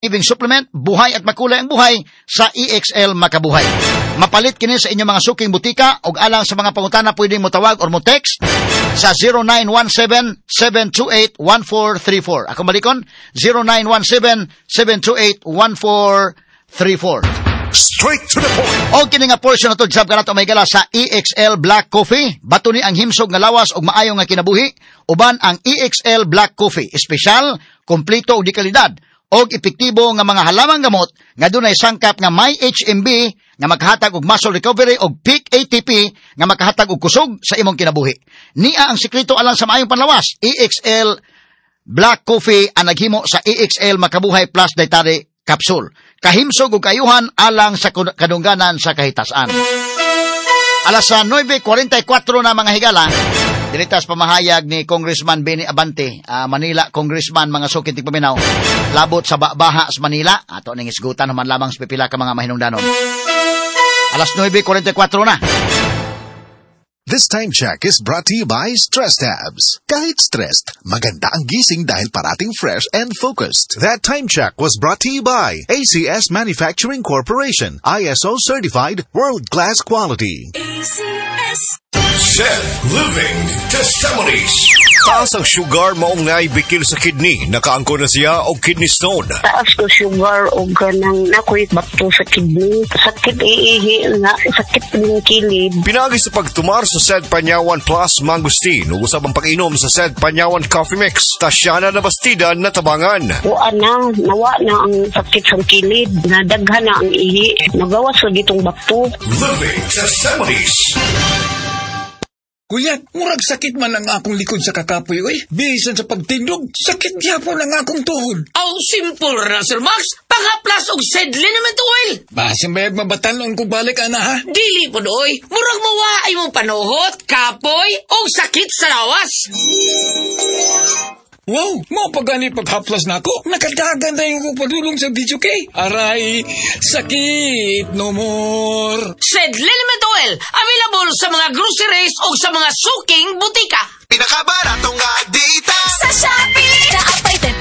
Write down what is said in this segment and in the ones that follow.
Living Supplement, buhay at makulay ang buhay sa EXL Makabuhay. Mapalit kini sa inyong mga suking butika og alang sa mga pangutana pwede mo tawag or mo text sa 0917-728-1434. Ako balikon, 0917-728-1434. Straight to the point. Og kini nga portion na to sab kanato may gala sa EXL Black Coffee. Bato ni ang himsog nga lawas og maayo nga kinabuhi uban ang EXL Black Coffee. Espesyal, kompleto og di kalidad og epektibo nga mga halamang gamot nga dunay sangkap nga may HMB nga makahatag og muscle recovery og peak ATP nga makahatag og kusog sa imong kinabuhi. Nia ang sekreto alang sa maayong panlawas. EXL Black Coffee ang naghimo sa EXL Makabuhay Plus Dietary Capsule. Kahimsog ug kaayuhan alang sa kadungganan sa kahitasan. Alas sa 9:44 na, mga higala, diritas pamahayag ni Congressman Benny Abante, Manila Congressman, mga suking tigpaminaw, labot sa baha sa Manila, ato ning isgutan human lamang sa pipila ka mga mahinungdanon. Alas 9:44 na. This time check is brought to you by Stress Tabs. Kahit stressed, maganda ang gising dahil parating fresh and focused. That time check was brought to you by ACS Manufacturing Corporation. ISO certified, world-class quality. ACS. Set Living Testimonies. Taas ang sugar, maong naay bikil sa kidney. Nakaangko na siya og kidney stone. Taas ko sugar o ganang nakoy bato sa kidney. Sakit iihi na, sakit ng kilid. Pinagi sa pagtumar sa Sed Panyawan Plus Mangosteen ug usab ang pag-inom sa Sed Panyawan Coffee Mix. Tasyana na bastida na tabangan. Wa na, nawa na ang sakit sa kilid. Nadaghan na ang ihi. Nagawas lagi itong bato. Living Testimonies. Kuya, murag sakit man ang akong likod sa kakapoy, oy. Bisan sa pagtindog, sakit gyapon ang akong tuhod. Aw, simple ra, Sir Max. Panghaplas og Sed Liniment Oil. Basin bayag mabatanon ko balik, ana, ha? Dili po oy. Murag mawa ay mong panuhot, kapoy, o sakit sa lawas. Wow, mao pa gani paghaplas nako. Nakadagan na yung padulong sa video kay. Aray, sakit no more. Sed Liniment Oil, available sa mga groceries o sa mga suking butika. Pinakabaratong nga data. Sa Shopee, naapay 10%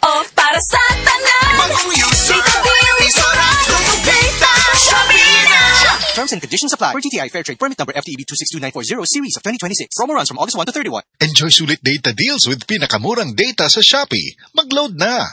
off para sa tanan. Bagong user. Data deal. Piso ra data. Shopee na! Terms and conditions apply. Per DTI Fair Trade Permit number FTEB 262940 Series of 2026. Promo runs from August 1 to 31. Enjoy sulit data deals with pinakamulang data sa Shopee. Mag-load na!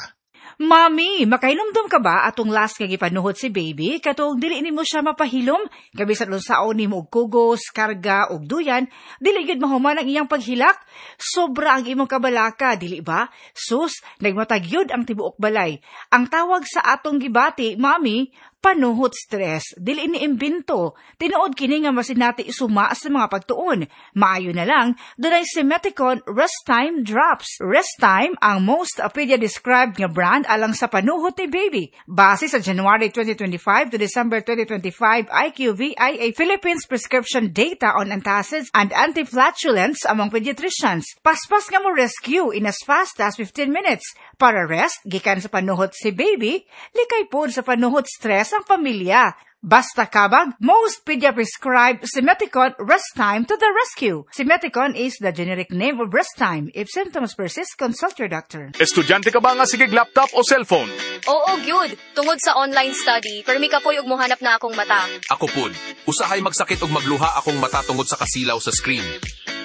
Mami, makahinumdum ka ba atong last nga gipanuhot si baby katong dili nimo siya mapahilom bisan unsaon nimo og kugos, karga og duyan, dili gyud mahuman ang iyang paghilak? Sobra ang imong kabalaka, dili ba? Sus, nagmatag gyud ang tibuok balay. Ang tawag sa atong gibati, Mami, panuhot stress. Dili ni imbento. Tinuod kini nga masinati suma sa mga pagtuon. Maayo na lang, dunay Simeticon Rest Time Drops. Rest Time ang most pedia described nga brand alang sa panuhot ni baby. Base sa January 2025 to December 2025 IQVIA Philippines prescription data on antacids and antiflatulents among pediatricians. Paspas nga mo rescue in as fast as 15 minutes. Para rest, gikan sa panuhot si baby, likay pod sa panuhot stress ang pamilya. Basta kabag, most pedia prescribed Simeticon Rest Time to the rescue. Simeticon is the generic name of Rest Time. If symptoms persist, consult your doctor. Estudyante ka ba nga sige laptop o cellphone? Oo, gyud. Tungod sa online study, permi kapoy ug mohanap na akong mata. Ako pud, usahay magsakit og magluha akong mata tungod sa kasilaw sa screen.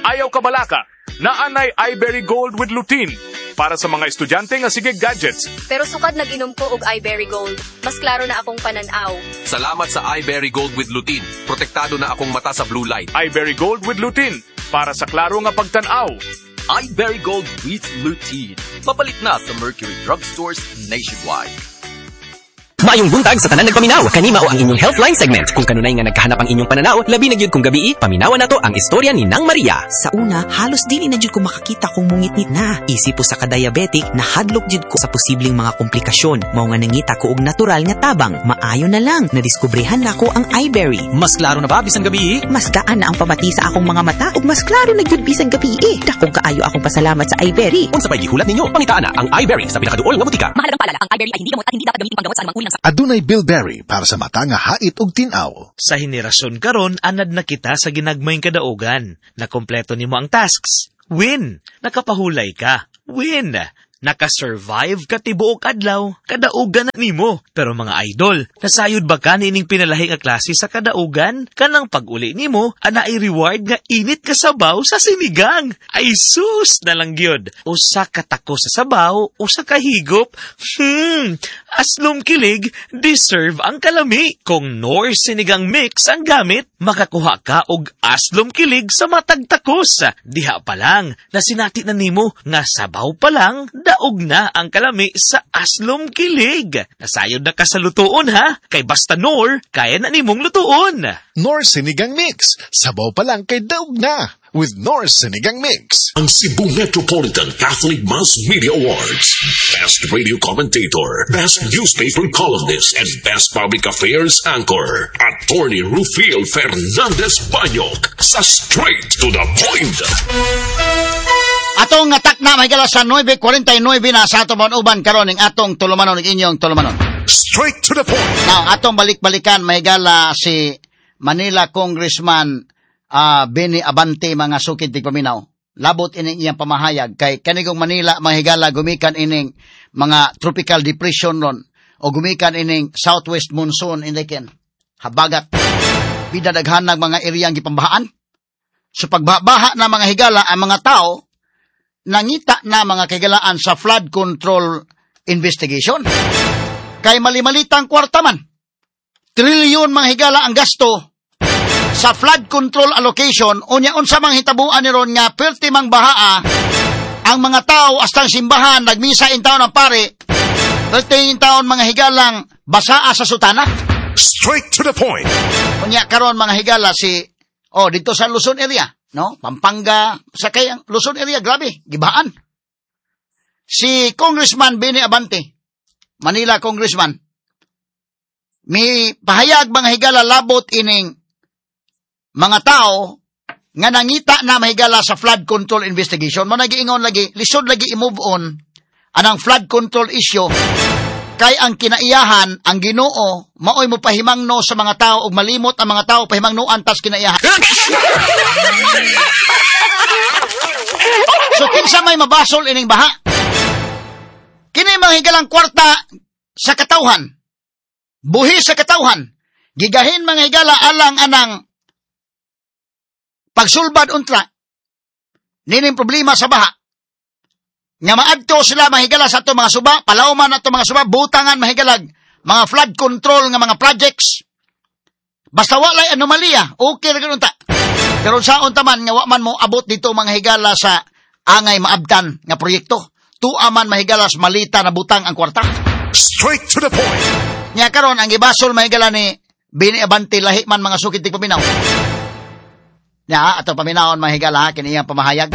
Ayaw kabalaka. Naanay iBerry Gold with Lutein para sa mga estudyante nga sige gadgets. Pero sukad nag-inom ko og iBerry Gold, mas klaro na akong pananaw. Salamat sa iBerry Gold with Lutein. Protektado na akong mata sa blue light. iBerry Gold with Lutein para sa klaro nga pagtan-aw. iBerry Gold with Lutein. Mapalit na sa Mercury Drugstores nationwide. Maayong buntag sa tanan nagpaminaw. Kani mao ang inyong Healthline segment. Kung kanunay nga nagkahanap ang inyong pananaw, labi na gyud kung gabii, paminawa nato ang istorya ni Nang Maria. Sa una, halos dili na jud ko makakita kung mungitngit na. Isip usa ka diabetic, nahadlok jud ko sa posibleng mga komplikasyon. Mao nga nangita ko og natural nga tabang. Maayo na lang, nadiskubrehan nako ang iBerry. Mas klaro na ba bisan gabii? Mas gaan na ang pamati sa akong mga mata ug mas klaro na gyud bisan gabii. Dakong kaayo akong pasalamat sa iBerry. Unsa pay gihulat ninyo? Pangitaan na ang iBerry sa pinakaduol nga butika. Mahalagang paalala, ang iBerry ay hindi gamot at hindi dapat gamitin panggamot sa anumang uri ng Adunay bilberry para sa mata nga hait og tin-aw. Sa henerasyon karon, anad na kita sa ginagmayng kadaugan. Nakompleto nimo ang tasks. Win! Nakapahulay ka. Win! Naka-survive ka tibuok adlaw, kadaugan na nimo. Pero mga idol, nasayod ba ka niining pinalahi nga klase sa kadaugan? Kanang pag-uli nimo, ana ay reward nga init ka sabaw sa sinigang. Ay sus na lang gyud. Usa ka tako sa sabaw, usa ka higop. Aslom kilig, deserve ang kalami. Kung Knorr Sinigang Mix ang gamit, makakuha ka og aslom kilig sa matag takos. Diha pa lang, nasinati na nimo nga sabaw pa lang, daog na ang kalami sa aslom kilig. Nasayod na ka sa lutuon ha, kay basta Knorr, kaya na nimong lutuon. Knorr Sinigang Mix, sabaw pa lang kay daog na. With Knorr Sinigang Mix. Ang Cebu Metropolitan Catholic Mass Media Awards. Best Radio Commentator, Best Newspaper Columnist, and Best Public Affairs Anchor. Attorney Rufil Fernandez Banyok sa Straight to the Point. Atong atak na may gala sa 9:49 na sa atong uban karon ning atong tulumanon ning inyong tulumanon. Straight to the point. Now, atong balik-balikan may gala si Manila Congressman Benny Abante mga sukid tigpaminaw. Labot ining iyang pamahayag kay kanigong Manila mga higala gumikan ining mga tropical depression ron o gumikan ining southwest monsoon indiken habagat bida daghan ng mga eriyang gipambahaan. So pagbaha na mga higala ang mga tao nangita na mga kahigalaan sa flood control investigation. Kay malimalitang kwarta man. Trilyon mga higala ang gasto sa flood control allocation. Unya unsa mang hitabuan ni ron nga perti mang bahaa ang mga tao astang simbahan nagmisa in taon ang pare perti in taon mga higalang basaa sa sutana. Straight to the point. Unya karon mga higala si dito sa Luzon area, no? Pampanga, sa kay ang Luzon area grabe, gibaan. Si Congressman Benny Abante, Manila Congressman, mi pahayag mga higala labot ining mga tao nga nangita na mahigala sa flood control investigation. Mo nagiingon lagi, lisod lagi i-move on anang flood control issue kay ang kinaiyahan, ang Ginoo maoy mo pahimangno sa mga tao ug malimot ang mga tao pahimangnoan tas kinaiyahan. So kinsa may mabasol ining baha? Kini mga higalang kwarta sa katawhan, buhi sa katawhan, gigahin mga higala alang anang pagsulbad untra nining problema sa baha. Nga maadto sila mahigala sa ato mga suba, palawman ato mga suba, butangan mahigalag mga flood control nga mga projects. Basta walay anomalya, okay ra gyud unta. Pero saon ta man nga wa man mo abot dito mga higala sa angay maabtan nga proyekto. Tua man mahigala sa malita na butang ang kwarta. Straight to the point. Nya karon ang gibasol mahigala ni Benny Abante lahi man mga sukid tigpaminaw. Nya ato paminawon mahigala kini iyang pamahayag.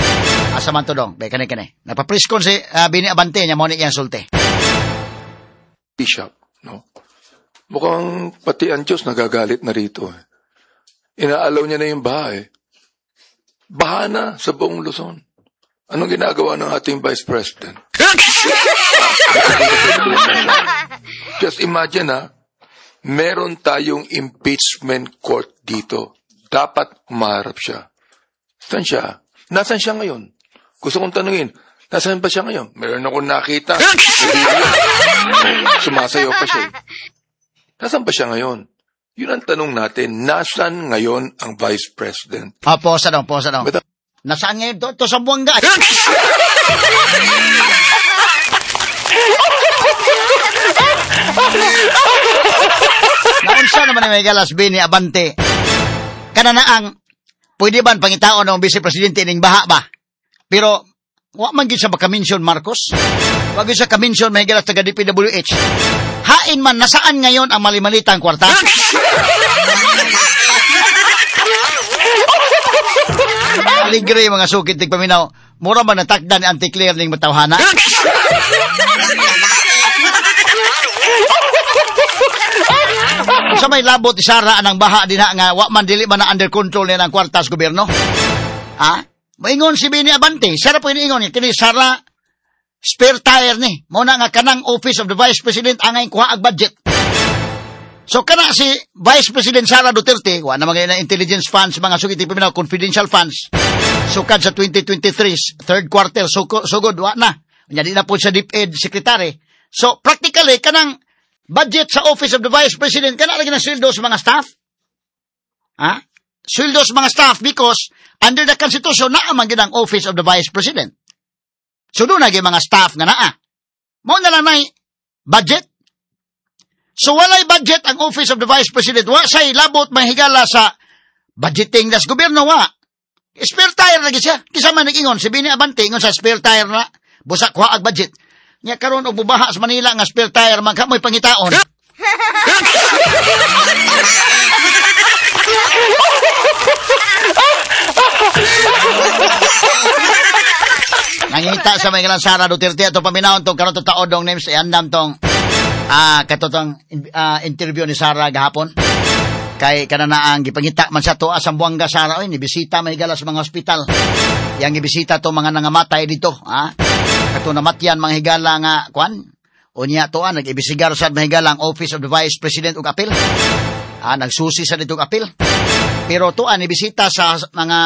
Asa man to dong? Be kani kani. Nagpa-preskon si Benny Abante nya mo ni iyang sulti. Bishop, no? Mukhang pati ang Diyos nagagalit na rito. Eh. Inaalaw niya na yung baha eh. Baha na sa buong Luzon. Anong ginagawa ng ating Vice President? Just imagine ha, meron tayong impeachment court dito. Dapat humaharap siya. Saan siya? Nasaan siya ngayon? Gusto kong tanungin, nasaan ba siya ngayon? Meron akong nakita. Sumasayaw pa siya. Nasaan ba siya ngayon? Yun ang tanong natin. Nasaan ngayon ang Vice President? Posa daw, posa daw. Nasaan ngayon? Ito sa Buanga. Naunsa naman ni may galas Benny Abante. Kana na ang pwede ba pangitaon ng Vice Presidente ning baha ba? Pero wa man gyud siya maka-mention Marcos. Wa gyud siya ka-mention may galas taga DPWH. Hain man nasaan ngayon ang malimalitang kwarta? Aligre mga sukit tigpaminaw. Mura man natakdan ni Auntie Claire ning matawhana. Sa may labot isara anang baha dinha nga wa man dili man na under control niya ng kwarta sa gobyerno. Ha? Maingon si Benny Abante, sara po iniingon niya kini Sara spare tire ni. Mao na nga kanang Office of the Vice President angay kuha ag budget. So kana si Vice President Sara Duterte, wa na mga na intelligence funds mga sugit paminaw confidential funds. Sukad sa 2023 third quarter sugod wa na. Unya di na po siya DepEd secretary. So practically kanang budget sa Office of the Vice President kana lagi ng sweldo sa mga staff. Ha? Sweldo sa mga staff because under the Constitution naa man gid ang Office of the Vice President. So doon na mga staff nga naa. Mao na lang nay budget. So walay budget ang Office of the Vice President. Wa say labot mahigala sa budgeting das gobyerno wa. Spare tire lagi siya. Kisa man nag-ingon si Bini Abante ingon sa spare tire na busa kuha ag budget. Nya karon og bubaha sa Manila nga spare tire man kamoy pangitaon. Nangita sa mga Sara Duterte ato paminawon tong karon taod dong names iandam tong katotong interview ni Sara gahapon. Kay kananaang gipangita man sa toa sa Zamboanga Sara oy nibisita man higala sa mga ospital. Yang gibisita to mga nangamatay dito, ha? Kato namatyan mga higala nga kwan. Unya toa nag-ibisigar sad mga higala ang Office of the Vice President og apil. Nagsusi sa dito og apil. Pero toa nibisita sa mga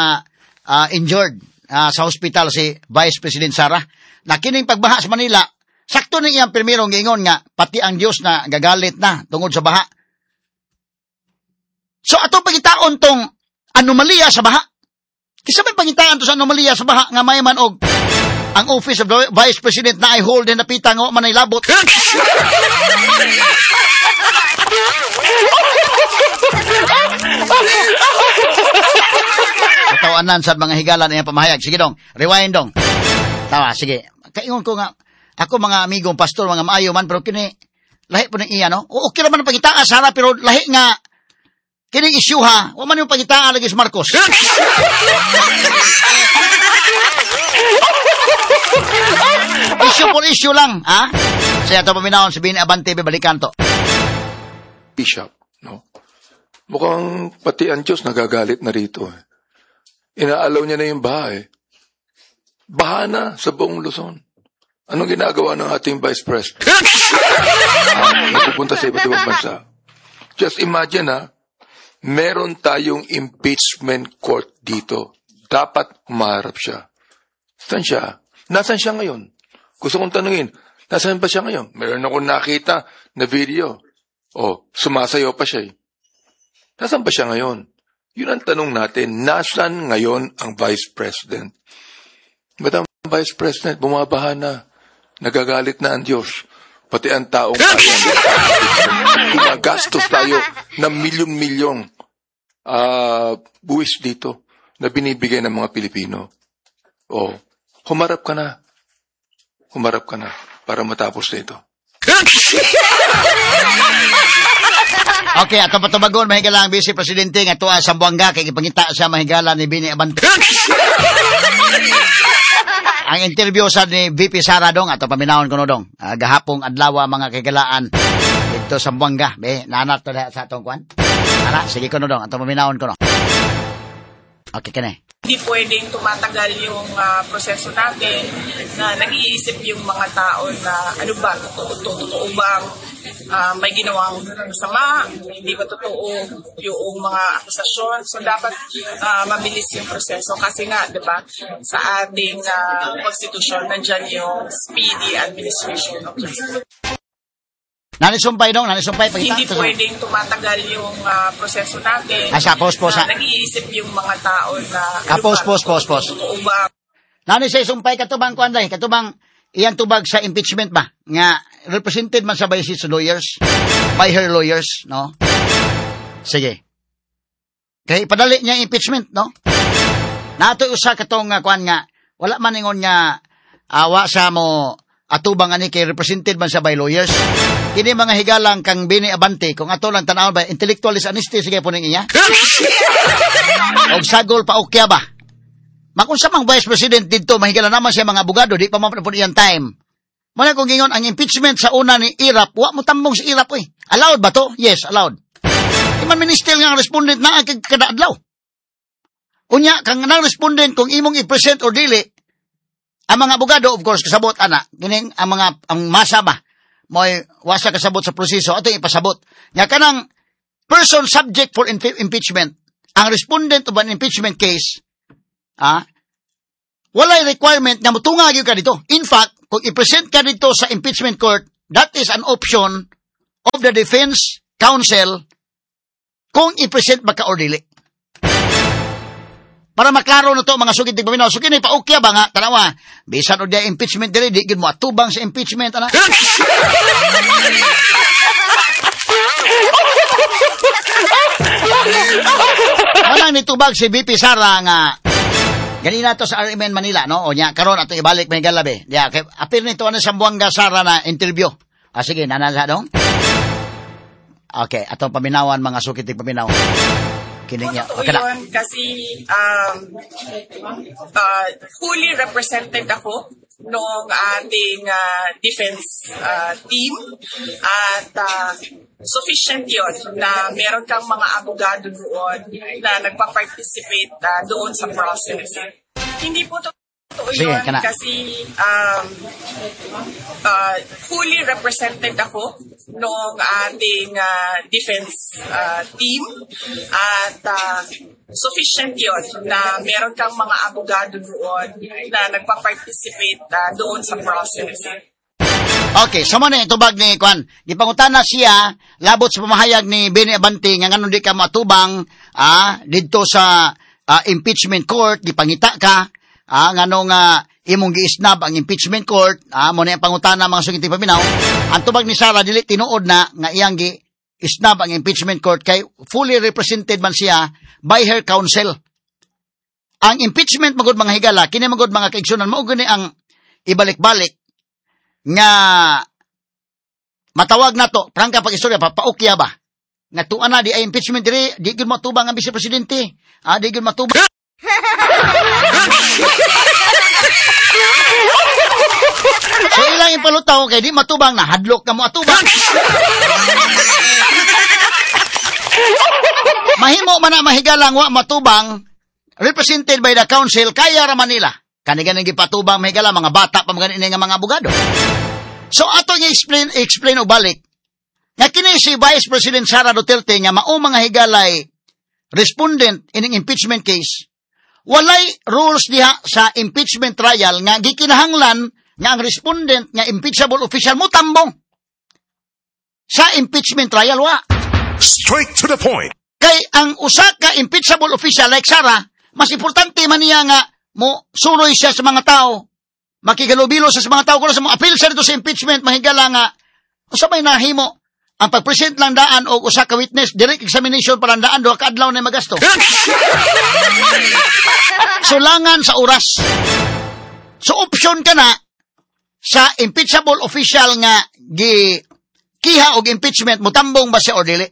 injured sa hospital si Vice President Sara. Na kining pagbaha sa Manila, sakto ni iyang pirmirong giingon nga pati ang Dios na gagalit na tungod sa baha. So ato pangitaon tong anomalya sa baha. Kisa may pangitaan to sa anomalya sa baha nga may man og ang Office of the Vice President na ay hold na napita nga man ay labot. Katawanan sa mga higalan iyang pamahayag. Sige dong, rewind dong. Tawa, sige. Kaingon ko nga, ako mga amigong pastor, mga maayo man, pero kini, lahi po ng iya, no? Okay naman ang pangitaan, Sara, pero lahi nga, kining issue ha, wa man yung pangitaan lagi si Marcos. Issue for issue lang, ha? Siya ito paminahon, sabihin ni Abante, balikan to. Bishop, no? Mukhang pati ang Diyos nagagalit na rito. Eh. Inaalaw niya na yung baha eh. Baha na sa buong Luzon. Anong ginagawa ng ating Vice President? Nagpupunta sa iba't ibang bansa. Just imagine ha, meron tayong impeachment court dito. Dapat humaharap siya. Saan siya? Nasaan siya ngayon? Gusto kong tanungin, nasaan ba siya ngayon? Meron akong nakita na video. Oh, sumasayaw pa siya eh. Nasaan ba siya ngayon? Yun ang tanong natin, nasaan ngayon ang Vice President? Madam Vice President, bumabaha na. Nagagalit na ang Diyos. Pati ang taong gumagastos tayo ng milyon-milyong buwis dito na binibigay ng mga Pilipino. Oh, humarap ka na. Humarap ka na para matapos na ito. Okay, atong patubagon mahigala ang Vice Presidente nga tuwa sa Zamboanga kay gipangita siya mahigala ni Bini Abante. Ang interview sa ni VP Sara dong ato paminawon kuno dong. Gahapong adlaw mga kagalaan didto sa Zamboanga. Be, naanat to sa atong kuan. Ara, sige kuno dong ato paminawon kuno. Okay kini. Hindi pwedeng tumatagal yung proseso natin na nag-iisip yung mga tao na ano ba, totoo bang may ginawang masama, hindi ba totoo yung mga akusasyon. So dapat mabilis yung proseso kasi nga, di ba, sa ating konstitusyon, nandyan yung speedy administration of justice. Nanisumpay dong, nanisumpay. Hindi pwedeng tumatagal yung proseso natin. Asa, pause, pause. Nag-iisip yung mga tao na... Pause, pause, pause, pause. Nanisay sumpay katubang kuanday, katubang iyang tubag sa impeachment ba? Nga, represented man sa by his lawyers, by her lawyers, no? Sige. Kaya ipadali niya impeachment, no? Nato'y usa katong kuan nga, wala man ingon nga awa sa mo atubang ani kay represented man sa by lawyers. Kini mga higalang kang Bini Abante, kung ato lang tan-awon ba, intellectual dishonesty, sige po ning iya. Og sagol pa okya ba? Makunsa mang Vice President didto, mahigala naman siya mga abogado, di pa man po iyang time. Muna kung gingon, ang impeachment sa una ni Irap, wa mo tambong si Irap, oy. Allowed ba to? Yes, allowed. Iman minister nga ang respondent na ang kada adlaw. Unya, kang nang respondent kung imong i-present or dili, ang mga abogado, of course, kasabot, ana, kining ang mga, ang masa ba, mo'y wasa kasabot sa proseso, ato ipasabot. Nga kanang person subject for impeachment, ang respondent of an impeachment case, Walay requirement nga mutunga gyud ka dito. In fact, kung i-present ka dito sa impeachment court, that is an option of the defense counsel kung i-present ba ka or dili. Para maklaro na to mga sugid tigpaminaw. So kini paukya ba nga tanawa, bisan og di impeachment diri di gyud mo atubang sa impeachment ana. Walang nitubag si BP Sara nga ganina to sa RMN Manila, no? O nya karon ato ibalik may galabi. Ya, kay apil nito ana sa Zamboanga Sara na interview. Ah, sige, nanasa dong. Okay, atong paminawan mga sukit paminaw. Kini niya. Totoo yun, kasi fully represented ako noong ating defense team at sufficient yun na meron kang mga abogado doon na nagpa-participate doon sa process. Hindi po totoo yun kasi fully represented ako noong ating defense team at sufficient yun na meron kang mga abogado doon na nagpa-participate doon sa process. Okay, so mo na itubag ni Kwan. Gipangutana siya labot sa pamahayag ni Benny Abante nga nganong di ka matubang didto sa impeachment court, gipangita ka nganong imong giisnab ang impeachment court, mo na ang pangutana mga sugiti paminaw. Ang tubag ni Sara dili tinuod na nga iyang gi-isnab ang impeachment court kay fully represented man siya by her counsel. Ang impeachment magud mga higala, kini magud mga kaigsunan mao gani ang ibalik-balik nga matawag nato prangka pag-istorya papaukya ba nga tuan na di ay impeachment diri di gyud matubang ang vice presidente, di gyud matubang. So ilang ipalutaw kay di matubang na hadlok ka mo atubang. Mahimo man na mahigalang wa matubang represented by the council kaya ra Manila. Kani ganing gipatubang mahigala mga bata pa mga nga mga abogado. So atong i-explain og balik nga kini si Vice President Sara Duterte nga mao mga higalay respondent ining impeachment case. Walay rules diha sa impeachment trial nga gikinahanglan nga ang respondent nga impeachable official mo tambong sa impeachment trial wa. Straight to the point. Kay ang usa ka impeachable official like Sara, mas importante man niya nga mo suroy siya sa mga tao, makigalubilo siya sa mga tao kuno sa mo appeal siya dito sa impeachment mahigala nga usa may nahimo ang pag-present lang daan og usa ka witness, direct examination pa lang daan, duha ka adlaw na magasto. Sulangan sa oras. So option ka na sa impeachable official nga gi kiha og impeachment, mutambong ba siya or dili?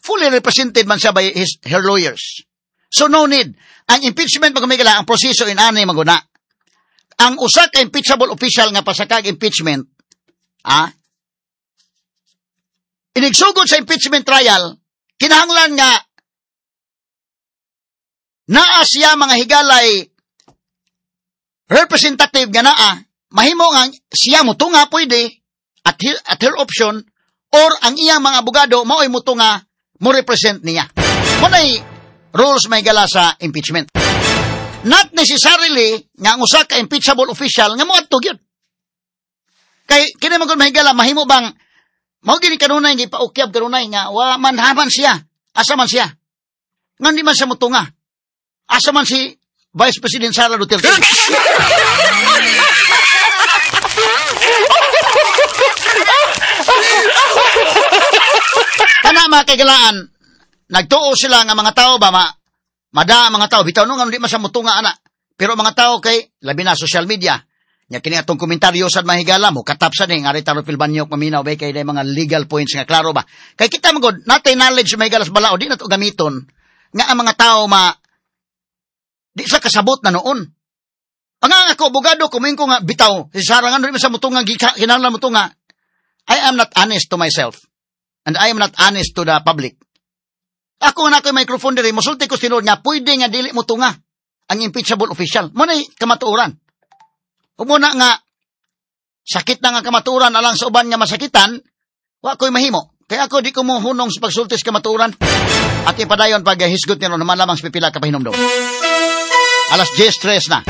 Fully represented man siya by her lawyers. So no need. Ang impeachment magumigala, ang proseso inani maguna. Ang usa ka impeachable official nga pasakag impeachment, inigsugod sa impeachment trial, kinahanglan nga naa siya mga higalay representative nga naa, mahimo nga siya mutunga pwede at her option or ang iyang mga abogado mao'y mutunga mo represent niya. Muna'y rules may gala sa impeachment. Not necessarily nga ang usa ka impeachable official nga moadto gyud. Kay kini man gud mahigala mahimo bang mao gini kanunay gipaukyab kanunay nga wa man haman siya, asa man siya. Ngan di man siya mutunga. Asa man si Vice President Sara Duterte. Kana mga kaigalaan, nagtuo sila nga mga tao ba mada mga tao bitaw no nga di man siya mutunga ana. Pero mga tao kay labi na social media. Nya kini atong komentaryo sad mahigala mo katap sad ni nga Rita Rufil Banyok maminaw bay kay day mga legal points nga klaro ba. Kay kita man gud natay knowledge mahigala sa balao di nato gamiton nga ang mga tao ma di sa kasabot na noon. Ang ako abogado kuminko nga bitaw si Sara nga di man sa mutunga kinahanglan mutunga. I am not honest to myself and I am not honest to the public. Ako na ako'y microphone diri mosulti ko tinuod nga pwede nga dili mutunga ang impeachable official. Mo nay kamatuoran. Umuna nga, sakit na nga kamaturan alang sa uban nga masakitan, wa ko'y mahimo. Kaya ako di ko mo hunong sa pagsultis kamaturan. At ipadayon pag hisgot nyo naman lamang sa pipila ka pahinomdom. 10:03 na.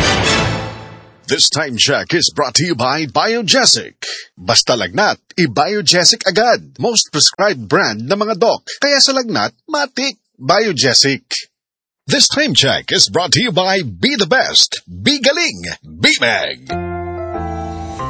This time check is brought to you by Biogesic. Basta lagnat, i-Biogesic agad. Most prescribed brand ng mga doc. Kaya sa lagnat, matik, Biogesic. This time check is brought to you by Be The Best, Be Galing, Be Mag.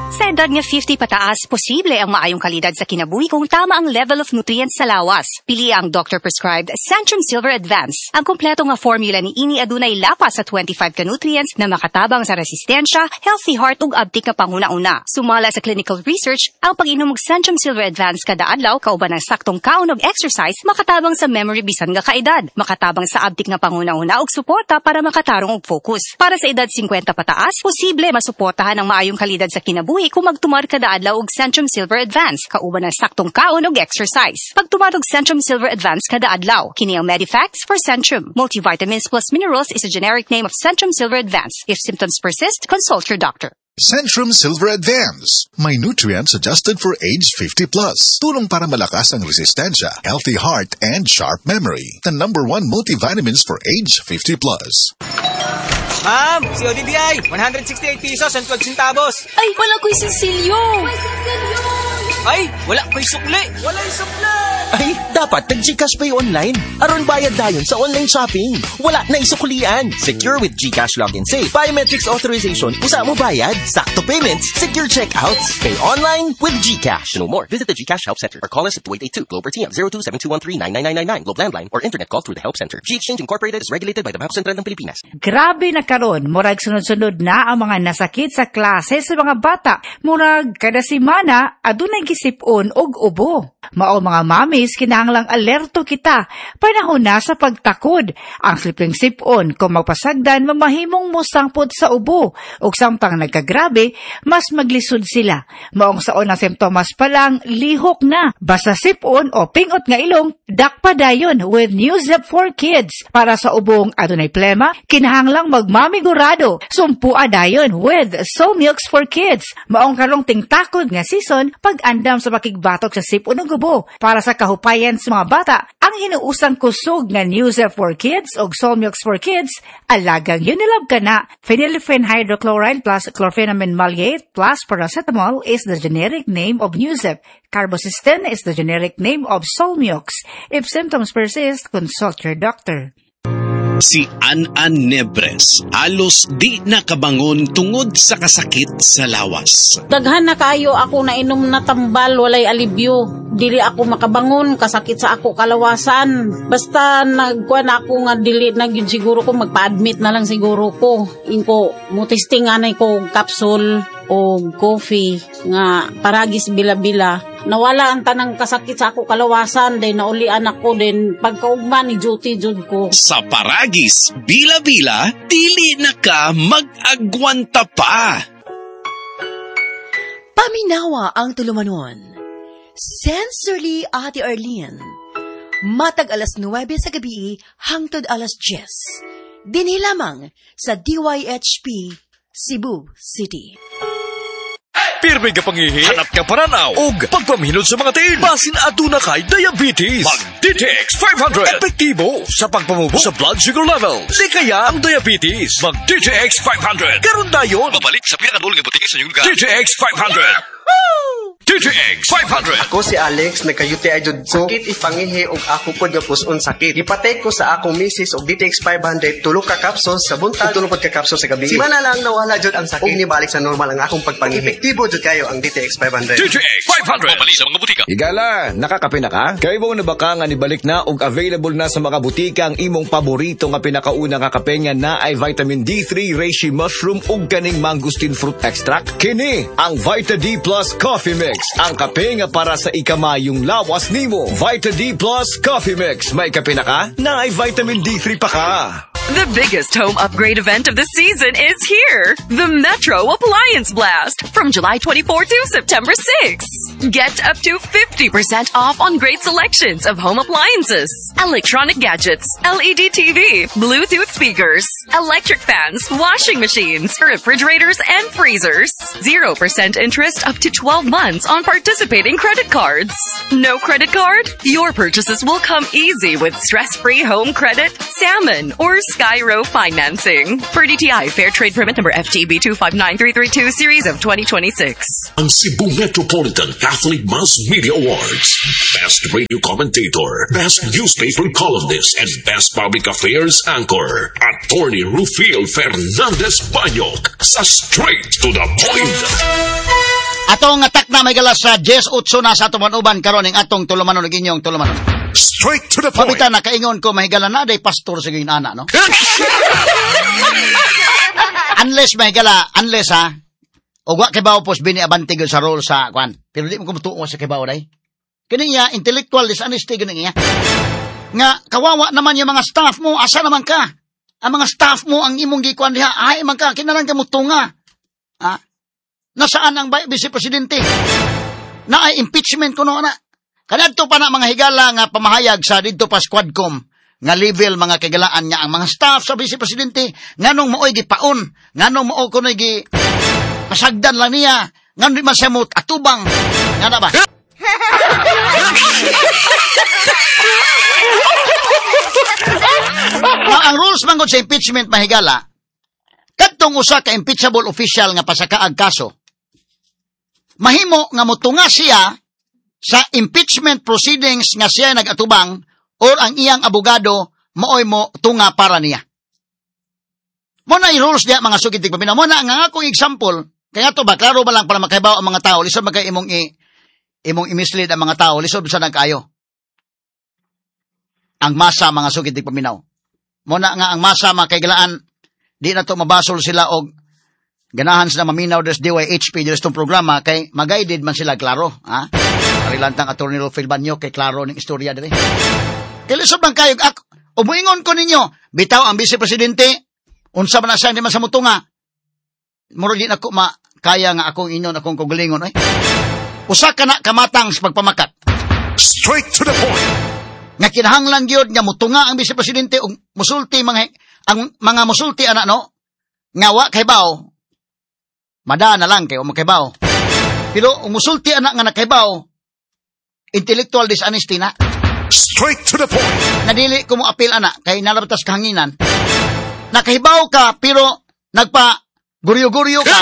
Sa edad nga 50 pataas, posible ang maayong kalidad sa kinabuhi kung tama ang level of nutrients sa lawas. Pili ang doctor-prescribed Centrum Silver Advance. Ang kompleto nga formula ni ini adunay lapas sa 25 ka nutrients na makatabang sa resistensya, healthy heart ug abtik nga panghuna-una. Sumala sa clinical research, ang pag-inom og Centrum Silver Advance kada adlaw kauban ng saktong kaon ug exercise makatabang sa memory bisan nga kaedad, makatabang sa abtik nga panghuna-una ug suporta para makatarong og focus. Para sa edad 50 pataas, posible masuportahan ang maayong kalidad sa kinabuhi kung magtumar kada adlaw og Centrum Silver Advance kauban ng saktong kaon ug exercise. Pagtumar og Centrum Silver Advance kada adlaw, kini ang Medifacts for Centrum. Multivitamins plus minerals is a generic name of Centrum Silver Advance. If symptoms persist, consult your doctor. Centrum Silver Advance. May nutrients adjusted for age 50 plus. Tulong para malakas ang resistensya, healthy heart, and sharp memory. The number one multivitamins for age 50 plus. Ma'am, CODDI, 168 pesos and 12 centavos. Ay, wala ko'y sinsilyo. Ay, wala ko'y sukli. Wala'y sukli. Ay, dapat nag-GCash Pay online. Aron bayad dayon sa online shopping. Wala na isuklian. Secure with GCash Login Safe. Biometrics authorization, usa mo bayad. Sakto payments, secure checkouts. Pay online with GCash. To know more, visit the GCash Help Center or call us at 2882 Globe or TM 0272139999 Globe Landline or internet call through the Help Center. G-Exchange Incorporated is regulated by the Bangko Sentral ng Pilipinas. Grabe na karon, murag sunod-sunod na ang mga nasakit sa klase sa mga bata. Murag kada semana adunay gisipon og ubo. Mao mga mamis, kinahanglang alerto kita. Panahon na sa pagtakod. Ang simpleng sipon kung magpasagdan mamahimong mosangpot sa ubo. Ug samtang nagkagrabe, mas maglisod sila. Maong sa unang simptomas pa lang, lihok na. Basta sipon o pingot nga ilong, dakpa dayon with Nuzep for Kids. Para sa ubong adunay plema, kinahanglang magmamigurado. Sumpua dayon with So Milks for Kids. Maong karong tingtakod nga season, pag-andam sa pakigbatok sa sipon ug ubo. Para sa kahupayan sa mga bata, ang hinuusang kusog nga Nuzep for Kids o Soul Milks for Kids, alagang Unilab ka na. Phenylephrine hydrochloride plus chlorphenamine maleate plus paracetamol is the generic name of Nuzep. Carbocisteine is the generic name of Solmux. If symptoms persist, consult your doctor. Si An-An Nebres, halos di nakabangon tungod sa kasakit sa lawas. Daghan na kaayo ako nainom na tambal, walay alibyo. Dili ako makabangon, kasakit sa ako kalawasan. Basta nagkuan ako nga dili na gyud siguro ko, magpa-admit na lang siguro ko. Ingko, mo-testing anay ko og capsule o coffee nga paragis bila-bila. Nawala ang tanang kasakit sa ako kalawasan, then naulian ako, then pagkaugma ni duty jud ko. Sa paragis, bila-bila, dili na ka mag-agwanta pa. Paminawa ang tulumanon. Sincerely, Ate Arlene. Matag 9 sa gabi, hangtod 10. Dinhi lamang sa DYHP, Cebu City. Pirmi ka pangihi, hanap ka paranaw, ug pagpamhinod sa mga tiil. Basin aduna kay diabetes. Mag DTX 500. Epektibo sa pagpamubo sa blood sugar levels. Di kaya ang diabetes. Mag DTX 500. Karon dayon. Mabalik sa pinakadulong nga butika sa inyong lugar. DTX 500. DTX 500. Ako si Alex, nagka-UTI jud ko. Sakit ipangihi og ako pod nga puson sakit. Gipatake ko sa akong misis og DTX 500 tulo ka capsules sa buntag, tulo pod ka capsules sa gabi. Simana lang nawala jud ang sakit. Ug nibalik sa normal ang akong pagpangihi. Epektibo jud kayo ang DTX 500. DTX 500. Mabalik sa mga butika. Higala, nakakape na ka? Kaybaw na ba ka nga nibalik na og available na sa mga butika ang imong paborito nga pinakauna nga kape nga naay vitamin D3 reishi mushroom ug kaning mangosteen fruit extract? Kini ang Vita D Plus Coffee Mix. Ang kape nga para sa ikamayong lawas nimo. Vita D Plus Coffee Mix. May kape na ka? Naay vitamin D3 pa ka. The biggest home upgrade event of the season is here. The Metro Appliance Blast from July 24 to September 6. Get up to 50% off on great selections of home appliances, electronic gadgets, LED TV, Bluetooth speakers, electric fans, washing machines, refrigerators, and freezers. 0% interest up to 12 months on participating credit cards. No credit card? Your purchases will come easy with stress-free home credit, salmon, or Skyro financing. For DTI Fair Trade Permit number FTB 259332 series of 2026. Ang Cebu Metropolitan Catholic Mass Media Awards. Best Radio Commentator, Best Newspaper Columnist, and Best Public Affairs Anchor. Attorney Rufil Fernandez Banyok sa Straight to the Point. Atong atak na may galas sa 10:08 na sa atong uban karon ning atong tulumanon ug inyong tulumanon. Straight to the point. Pabita na kaingon ko mahigala na day pastor sa gayun ana, no? Unless mahigala, unless ha, og wa kay bawo pos Bini Abante gyud sa role sa kwan. Pero di mo ko mutuo sa kay bawo day. Kini niya intellectual dishonesty gyud niya. Nga kawawa naman yung mga staff mo, asa naman ka? Ang mga staff mo ang imong gikuan diha, ay man ka kinalang ka mutunga. Ha? Nasaan ang vice presidente? Na ay impeachment kuno na. Kanadto pa na mga higala nga pamahayag sa didto pa Squadcom nga level mga kagalaan nga ang mga staff sa vice presidente nganong maoy gipaon, nganong mao kunoy gi pasagdan lang niya, nganong di man siya mo atubang. Ngana ba? Now, ang rules man gud sa impeachment mahigala, kadtong usa ka impeachable official nga pasakaag kaso, mahimo nga motunga siya sa impeachment proceedings nga siya nagatubang or ang iyang abogado maoy mo tunga para niya. Mo na rules diya mga sugid tigpaminaw. Mo na ang akong example, kaya to ba klaro ba lang para makahibaw ang mga tao, lisod man kay imong imong i-mislead ang mga tao, lisod sa nagkaayo. Ang masa mga sugid tigpaminaw. Mo na nga ang masa mga kaigalaan, di na to mabasol sila og ganahan sila maminaw des DYHP des tong programa kay magaided man sila klaro, ha? Arilantang Attorney Rufil Banyo kay klaro ning istorya diri. Kay lisod man kayo ako, umuingon ko ninyo, bitaw ang vice presidente unsa man na siya di man sa mutunga. Muro di nako makaya nga akong inon akong kaugalingon oy. Usa ka na kamatang sa pagpamakat. Straight to the point. Nga kinahanglan gyud nga mutunga ang vice presidente og musulti mga ang mga musulti ana no nga wa kay bawo. Mada na lang kay o makaibaw. Pero umusulti anak nga nakaibaw, intellectual dishonesty na. Straight to the point. Nadili ko mo apil anak kay nalabatas kahanginan. Nakahibaw ka pero nagpa guryo-guryo ka.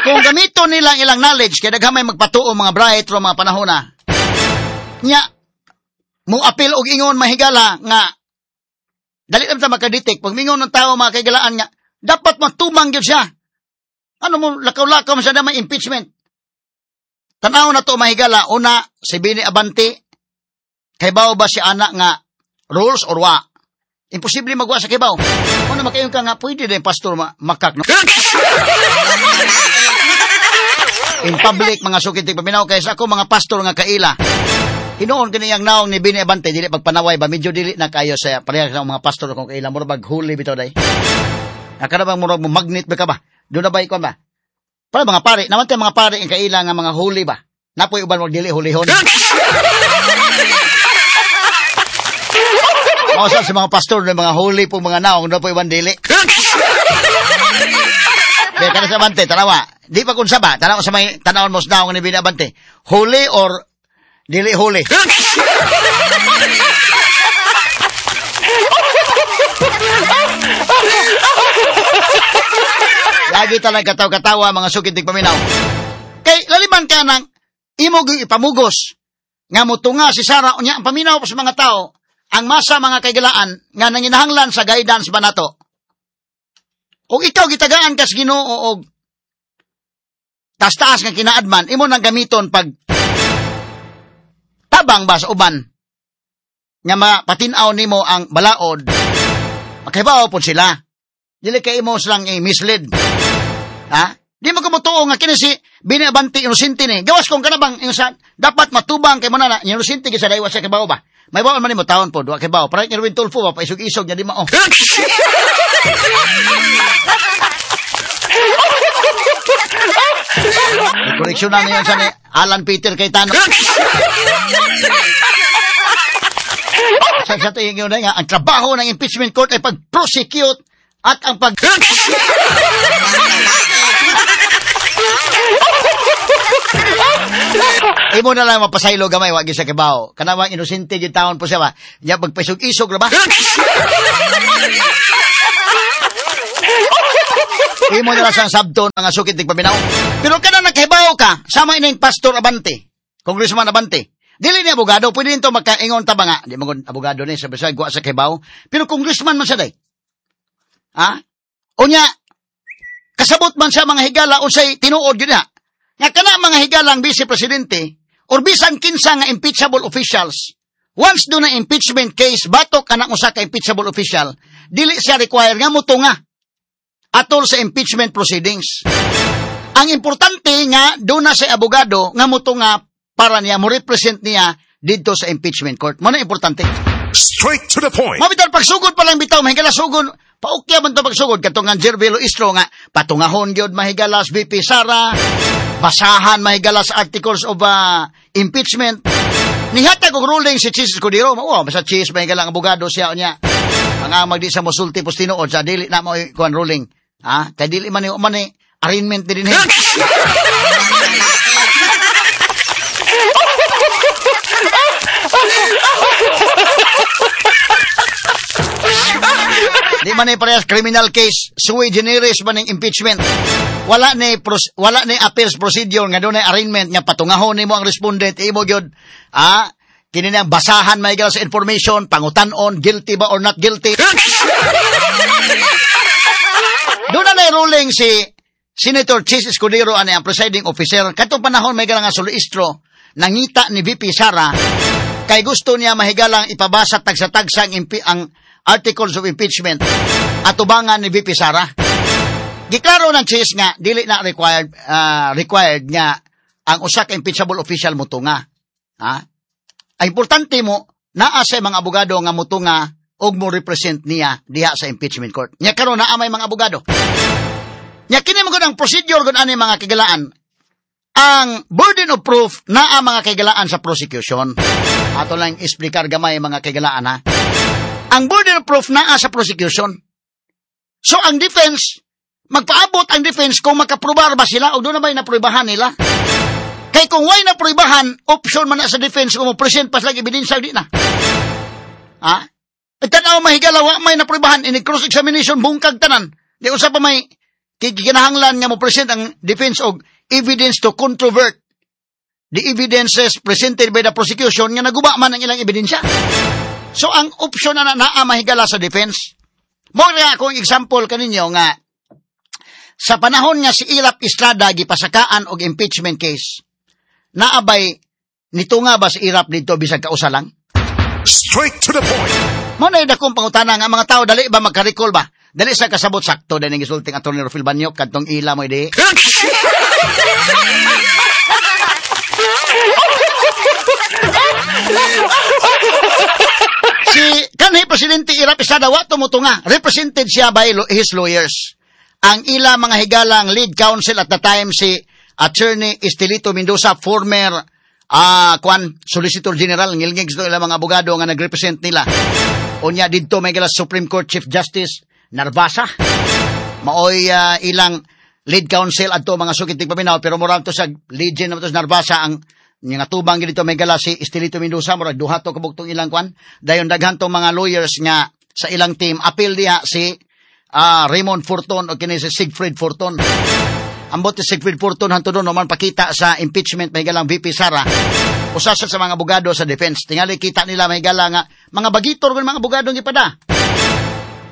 Kung gamito nila ilang knowledge kay daghan may magpatuo mga bright ro mga panahon na. Nya mo apil og ingon mahigala nga dali lang ta makadetect pag mingon ng tao mga kaigalaan nga dapat matumang gyud siya. Ano mo lakaw-lakaw man siya na may impeachment. Tan-aw na to mahigala una si Bini Abante kaybaw ba si ana nga rules or wa? Imposible magwa sa kaybaw. Una makayon ka nga pwede din pastor makak no. In public mga sukit paminaw kay sa ako mga pastor nga kaila. Hinuon kini ang naong ni Bini Abante dili pagpanaway ba medyo dili na kayo sa pareha sa mga pastor kung kaila murag maghuli bitaw day. Akala bang murag mo magnet ba ka ba? Doon na ba ikaw ba? Para mga pare, naman tayo mga pare ang kaila nga mga huli ba? Napoy uban wag dili hulihon. Mao sa mga pastor ng mga huli po mga naong napoy uban dili. Kaya kana sa Abante, tanawa. Di pa kun saba, tanawa sa may tanawon mo sa naong ni Bini Abante. Huli or dili huli. Lagi talaga kataw-katawa mga sukit paminaw. Kay laliman ka ng imo gyud ipamugos nga motunga si Sara unya ang paminaw pa sa mga tao ang masa mga kaigalaan nga nanginahanglan sa guidance ba nato. Og ikaw gitagaan kas Ginoo og taas-taas nga kinaadman imo nang gamiton pag tabang ba sa uban nga mapatin-aw nimo ang balaod, makahibaw pod sila. Dili kay imo silang i-mislead. Ha? Di mo kumutuo nga kini si Bini Abante inosente ni. Gawas kung kanabang insan dapat matubang kay mo na inosente gyud sa daywa siya kibaw ba. May bawon man nimo taon pod wa kibaw. Para kay Erwin Tulfo ba paisog-isog nya di mao. Koreksyon na niyan sa ni Alan Peter Cayetano. Sa tingin nyo na nga, ang trabaho ng impeachment court ay pag-prosecute at ang pag... Imo na lang mapasaylo gamay, wa gyud sa kibaw. Kanawang inosente gyud taon po siya ba. Nya magpaisog-isog ra ba? Imo na lang siyang sabton mga sukit tig paminaw. Pero kana nagkahibaw ka, sama ining Pastor Abante, Congressman Abante. Dili ni abogado, pwede nito makaingon ta ba nga? Di man abogado ni, sabi siya, guwa sa kibaw. Pero congressman man siya day. Ha? Unya, kasabot man siya mga higala unsay tinuod gyud na. Nga kana mga higalang vice presidente or bisan kinsa nga impeachable officials, once do na impeachment case batok kanang usa ka impeachable official, dili siya require nga motunga atol sa impeachment proceedings. Ang importante nga do na sa abogado nga motunga para niya mo represent niya didto sa impeachment court. Mo na importante. Straight to the point. Mabitaw pagsugod pa lang bitaw mahigala sugod. Paukya man to pagsugod katong nga Jervelo Istro nga patungahon gyud mahigalas VP Sara, basahan mahigalas articles of impeachment. Nihatag og ruling si Chiz Escudero, mao basta Chiz mahigalang abogado siya unya. Mga magdi sa mosulti pos tinuod sa dili na mo kuan ruling. Ha? Kay dili man ni arraignment din dinhi. Di man ni parehas criminal case, sui generis man ning impeachment. Wala ni appeals procedure nga dunay arraignment nga patungahon nimo ang respondent imo gyud. Ah, kini na basahan may sa information, pangutan-on guilty ba or not guilty. Doon na ruling si Senator Chiz Escudero ani ang presiding officer katong panahon may nga soloistro nangita ni VP Sara kay gusto niya mahigalang ipabasa tagsa-tagsa ang articles of impeachment atubangan ni VP Sara. Giklaro ng Chiz nga dili na required nga ang usa ka impeachable official motunga. Ha? Ang importante mo naa sa mga abogado nga motunga og mo represent niya diha sa impeachment court. Nya karon naa may mga abogado. Nya kini man gud ang procedure gud ani mga kigalaan. Ang burden of proof naa mga kigalaan sa prosecution. Ato lang explicar gamay mga kigalaan ha. Ang burden of proof naa sa prosecution. So ang defense, magpaabot ang defense kung makaprobar ba sila o doon na ba'y napruibahan nila. Kay kung way napruibahan, option man na sa defense kung mo-present pa sila ebidensya di na. Ha? E tanaw mahigala, wa may napruibahan, in cross-examination, bungkag tanan. Di usa pa may kinahanglan nga mo-present ang defense og evidence to controvert the evidences presented by the prosecution nga naguba man ang ilang ebidensya. So ang option na naa mahigala sa defense. Mo nga akong example kaninyo nga sa panahon nga si Erap Estrada gipasakaan og impeachment case, naabay nito nga ba si Erap dito bisag kausa lang? Straight to the point. Mo na dakong pangutana nga mga tao dali ba magka-recall ba? Dali sa kasabot sakto din ang gisulting Attorney Rufil Banyok kadtong ila mo di. Si kanhi Presidente Erap Estrada wa tumutunga, represented siya by his lawyers. Ang ila mga higalang lead counsel at the time si Attorney Estelito Mendoza, former Solicitor General, ngilngig sa ilang mga abogado nga nagrepresent nila. Unya didto may gala Supreme Court Chief Justice Narvasa. Maoy ilang lead counsel adto mga sukit tig paminaw, pero moral to sa legend naman to sa Narvasa ang nga tubang dito may gala si Estelito Mendoza, murag duha to kabuktong ilang kwan. Dayon daghan tong mga lawyers nga sa ilang team appeal diha si Raymond Forton o kini si Siegfried Forton. Ambot si Siegfried Forton hanto doon naman pakita sa impeachment may galang VP Sara. Usa sa mga abogado sa defense. Tingali kita nila may gala nga mga bagitor kun mga abogado gipada.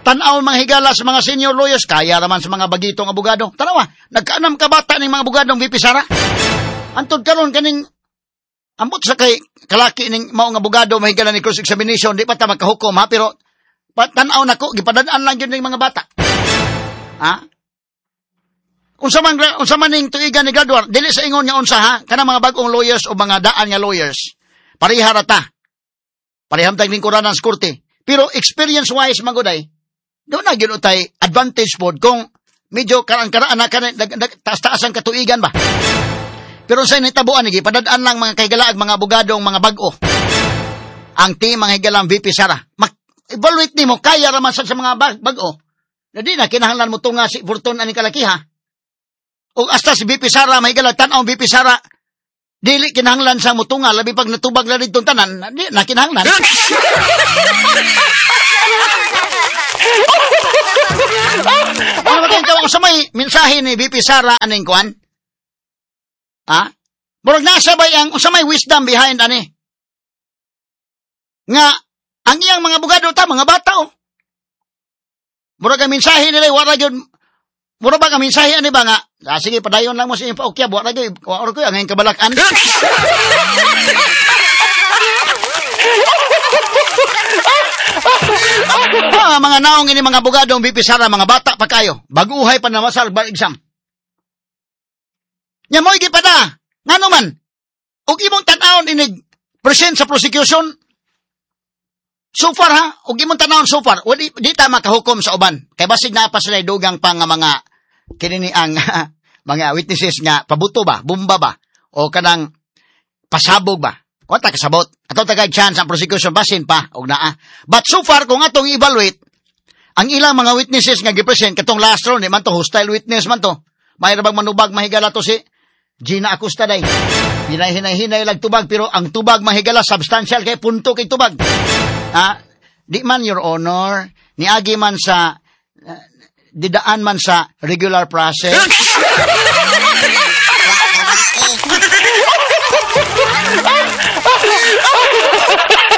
Tan-aw mga higala sa mga senior lawyers kaya raman sa mga bagitong abogado. Tanawa, nagkaanam ka bata ning mga abogadong VP Sara. Antod karon kaning ambot sa kay kalaki ning maong abogado mahigala ni cross examination di pa ta magkahukom ha, pero tan-aw nako gipadad-an lang gyud ning mga bata. Ha? Unsa man ning tuigan ni graduar, dili sa ingon nga unsa ha, kanang mga bag-ong lawyers o mga daan nga lawyers. Pareha ra ta. Pareham tag lingkuranan sa korte. Pero experience wise manguday, doon na gyud utay advantage pod kung medyo karaan-karaan na taas-taas ang katuigan ba. Pero sa nitabuan ni gipadad-an lang mga kahigalaag mga abogadong mga bag-o. Ang team mga higalang VP Sara. Evaluate nimo kaya ra man sa mga bag-o. Na di na kinahanglan mo tunga si Fortun ani kalakiha. O hasta si VP Sara mahigala tan-aw VP Sara Dili kinahanglan sa mutunga, labi pag natubag na dito tanan, di na kinahanglan. Ano ba kayong sa may mensahe ni VP Sara aning kuan? Ha? Murag nasa bay ang sa may wisdom behind ani? Nga ang iyang mga abogado ta mga bata oh. Murag ang mensahe nila wala gyud. Mura ba ang mensahe ani ba nga sige padayon lang mo sa inyong paukyab, wala gyud wa ko ang kabalakan. Mga naong ini mga abogado ang VP Sara, mga bata pa kayo. Baguhay pa na masal bar exam. Nya mo'y gipada. Ngano man? Og imong tan-awon inig present sa prosecution. So far ha, og imong tan-awon so far, wali di ta makahukom sa uban. Kay basig naa pa sila dugang pa nga mga kinini ang mga witnesses nga pabuto ba, bomba ba, o kanang pasabog ba. Wa ta kasabot. Ato ta kay chance ang prosecution basin pa og naa. But so far kung atong evaluate ang ilang mga witnesses nga gipresent katong last round di man to hostile witness man to. May ra bang manubag mahigala to si Gina Acosta day. Hinahinay-hinay lag tubag pero ang tubag mahigala substantial kay punto kay tubag. Ha? Di man your honor niagi man sa didaan man sa regular process.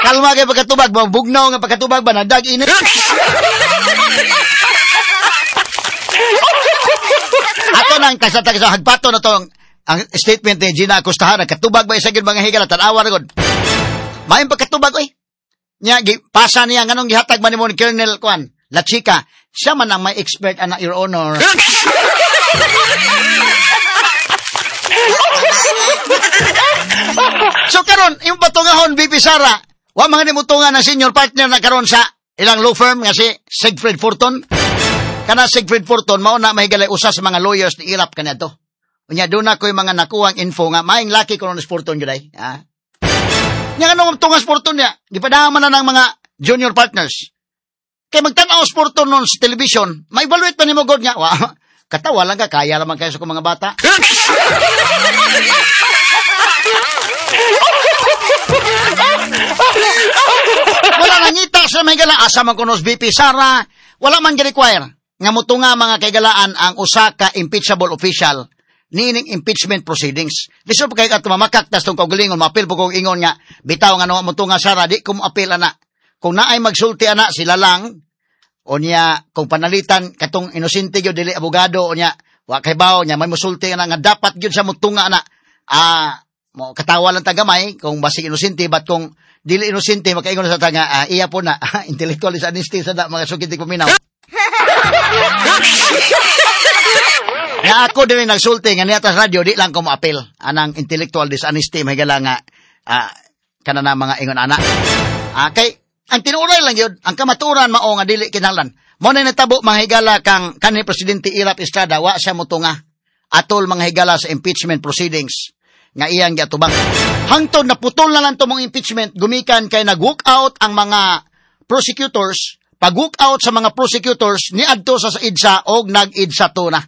Kalma kay pagkatubag ba, bugnaw nga pagkatubag ba, nadag init. Ato nang tagsa-tagsa, hagpato na to ang statement ni Gina Acosta, nagkatubag ba isa gyud mga higala, tanawa ra gud. Maayong pagkatubag, oy. Nya, pasa niya, nganong gihatag man nimo ni Colonel Kuan, La Chica, siya man ang may expert, anak, Your Honor. So karon imong patungahon VP Sara, wa mga nimutungan ang senior partner na karon sa ilang law firm nga si Siegfried Forton. Kana Siegfried Forton mao na mahigalay usa sa mga lawyers ni Irap kaniadto. Unya doon na ko'y mga nakuhang info nga maing laki kuno ni Forton gyud ay. Ha? Nya nganong tungas Forton niya, gipadaman na ng mga junior partners. Kay magtan-aw sa Forton nun sa television, ma-evaluate pa nimo god nga wa. Katawa lang ka, kaya lamang kayo sa kong mga bata. Wala nangita sa mga higala, asa man kunos VP Sara, wala man gi-require nga mutunga mga kaigalaan ang usa ka impeachable official niining impeachment proceedings. Lisod pa kay ato mamakaktas tong kaugalingon, maapil po kong ingon nga bitaw nga no mutunga Sara, di ko moapil ana. Kung naay magsulti ana sila lang. O niya, kung panalitan katong inosente gyud dili abogado o niya, wa kay bawo niya may musulti ana nga dapat gyud sa mutunga ana. Mo katawa lang ta gamay kung basig inosente, but kung dili inosente makaingon sa tanga iya po na intellectual dishonesty sa da mga sukit paminaw. Nga ako dili nagsulti nga niya tas radyo di lang ko moapil anang intellectual dishonesty mahigala nga kana na mga ingon ana. Kay ang tinuoray lang yun, ang kamaturan mao nga dili kinahanglan. Mo na natabo mga higala kang kanhi Presidente Erap Estrada, wa siya motunga atol mga higala sa impeachment proceedings nga iyang giatubang. Hangtod naputol na lang to mong impeachment, gumikan kay nag-walk out ang mga prosecutors. Pag-walk out sa mga prosecutors niadto sa EDSA og nag-EDSA to na.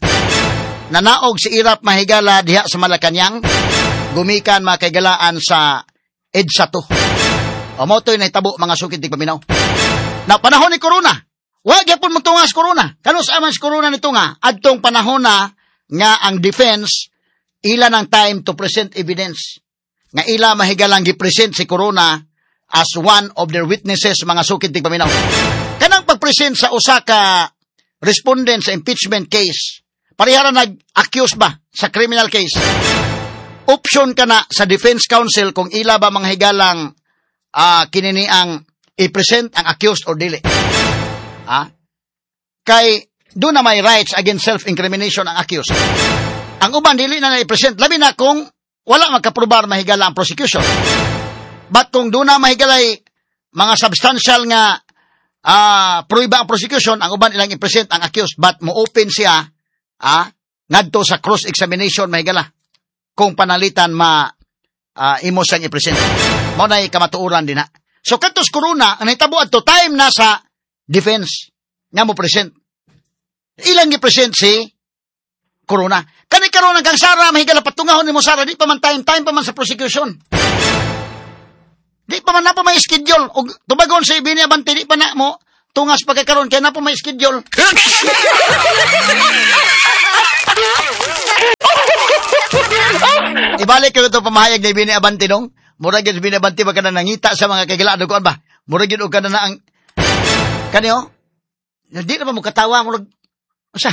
Nanaog si Erap mahigala diha sa Malacañang, gumikan mga kahigalaan sa EDSA to. O mo to'y nahitabo mga sukit di paminaw. Na panahon ni Corona, wa gyapon motunga sa Corona. Kanus aman sa Corona nito nga, adtong panahon na nga ang defense ila ng time to present evidence. Nga ila mahigalang gi-present si Corona as one of their witnesses mga sukit di paminaw. Kanang pag-present sa usa ka respondent sa impeachment case, parehara nag-accuse ba sa criminal case? Option ka na sa defense counsel kung ila ba mga higalang kinini ang i-present ang accused or dili. Kay doon na may rights against self-incrimination ang accused. Ang uban dili na i-present labi na kung wala makaprobar mahigala ang prosecution. But kung doon na mahigalay mga substantial nga pruiba ang prosecution, ang uban ilang i-present ang accused, but mo-open siya ngadto sa cross-examination mahigala kung panalitan ma imo siyang i-present. Mao nay kamatuoran din na. So kadtos Corona, ang nahitabo adto time na sa defense nga mo present. Ilang gi-present si Corona. Kani karon kang Sara mahigala patungahon nimo Sara, di pa man time time pa man sa prosecution. Di pa man na pa may schedule og tubagon sa Bini Abante, di pa na mo tungas pagkakaroon kay na pa may schedule. Ibalik ko ito pamahayag ni Bini Abante nung. Murag yun Bini Abante ba ka na nangita sa mga kagilaan kuan ba? Murag yun og ka na na ang kaniyo? Di na ba mo katawa murag usa?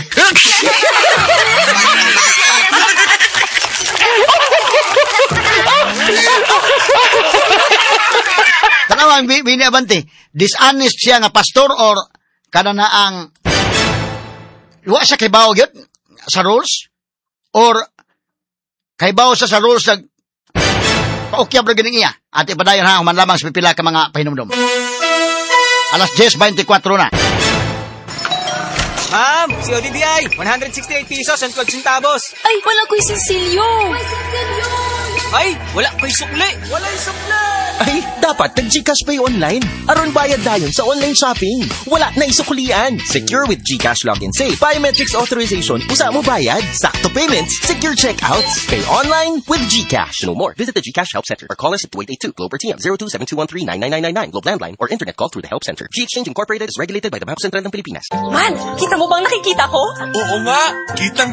Tanaw ang Bini Abante, dishonest siya nga pastor or kada na ang wa siya kay bawo gyud sa rules or kay bawo sa rules nag paukyab ra gyud iya. Ate padayon ha, human lamang sa pipila ka mga pahinumdom. Alas 10:24 na. Ma'am, si ODDI, 168 pesos and 12 centavos. Ay, wala ko'y sinsilyo. Ay, wala ko'y sukli. Wala'y sukli. Ay, dapat nag-GCash Pay online. Aron bayad dayon sa online shopping. Wala na isuklian. Secure with GCash Login Safe. Biometrics authorization. Usa mo bayad. Sakto payments. Secure checkouts. Pay online with GCash. To know more, visit the GCash Help Center or call us at 2882 Globe or TM 0272139999 Globe Landline or internet call through the Help Center. G-Exchange Incorporated is regulated by the Bangko Sentral ng Pilipinas. Man, kita mo bang nakikita ko? Oo nga, kitang